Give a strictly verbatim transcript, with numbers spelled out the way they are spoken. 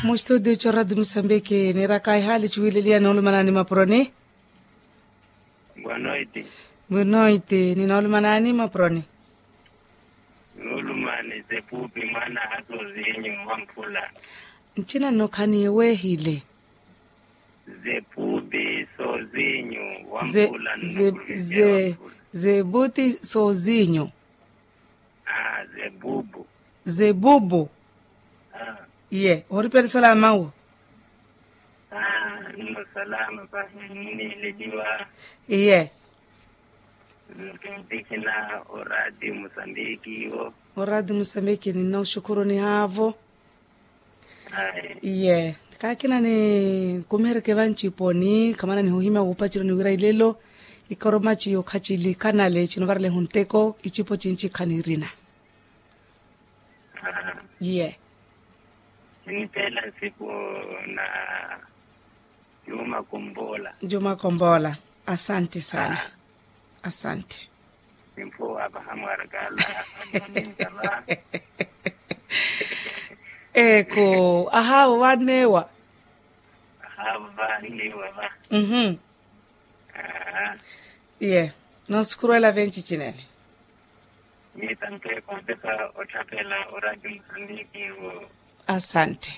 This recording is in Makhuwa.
Mu studio cho radio musambiki nirakaiha lichuwililiya noolumanani mapuroni. Boa noite. Boa noite ninoolumanani mapuroni. Noolumani zepupi mwana hasozinyu wamphula. Ncina nno khaniiwehile. Zepupi sozinyu wamphula nno. Zepupi sozinyu. Zebubu. Zebubu. Iye ohoriperisala mawu. Nno salama pahi nniileliwa. Iye. Nkintikhina oradi musambiki iwo. Oradi musambiki ninnoxukhuruni haavo. Iye. Kaakina ni kumihereke vanciponi khamana nihuhimya wuupacelo niwira ilelo. Ikoromaci yookhaci likanale cinovarelehu nteko icipo cinci khanirina. Iye. Sinipela nsiku na juma kombola. Juma kombola. Asante sana. Asante. Simphuwa vahamwarakala. Eku ahaavo vanneewa. Ahaavo vanneewa va. Mhm. Iye. Nosukuruwela venci cinene. Mitanteeko nteka otthaphela oradi musambiki wo. Asante.